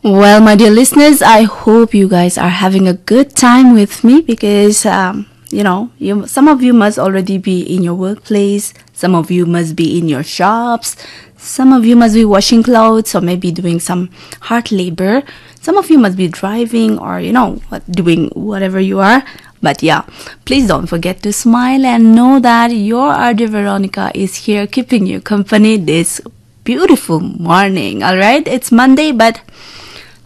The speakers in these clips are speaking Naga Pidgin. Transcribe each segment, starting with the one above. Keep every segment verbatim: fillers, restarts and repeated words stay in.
Well, my dear listeners, I hope you guys are having a good time with me because, um, you know, you, some of you must already be in your workplace, some of you must be in your shops, some of you must be washing clothes or maybe doing some hard labor, some of you must be driving or, you know, what- doing whatever you are. But yeah, please don't forget to smile and know that your R J Veronica is here keeping you company this beautiful morning. All right, it's Monday, but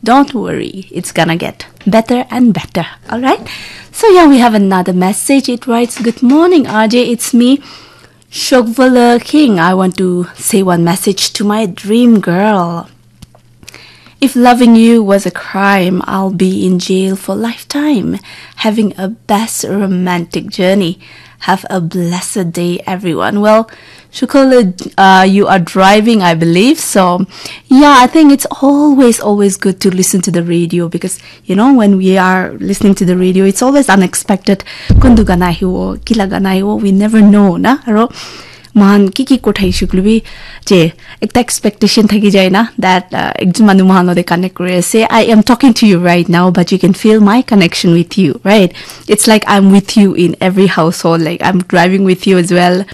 don't worry, it's gonna get better and better. All right, so yeah, we have another message. It writes, "Good morning, R J. It's me, Shogvala King. I want to say one message to my dream girl. If loving you was a crime, I'll be in jail for lifetime. Having a best romantic journey. Have a blessed day, everyone." Well, Shukala, uh, you are driving, I believe. So, yeah, I think it's always, always good to listen to the radio because, you know, when we are listening to the radio, it's always unexpected. Kundu gana hiwo, kila gana hiwo, we never know, na? Aro, mohan ki ki kothai shuklu bi, je, ekta expectation thaki jai na, that, uh, ekjon manu mohan lote connect kuri ase. I am talking to you right now, but you can feel my connection with you, right? It's like I'm with you in every household. Like, I'm driving with you as well.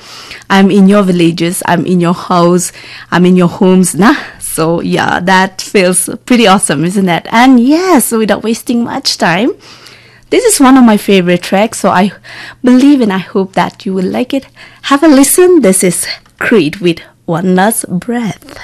I'm in your villages. I'm in your house. I'm in your homes, na? So, yeah, that feels pretty awesome, isn't it? And yes, without wasting much time, this is one of my favorite tracks. So, I believe and I hope that you will like it. Have a listen. This is Creed with One Last Breath.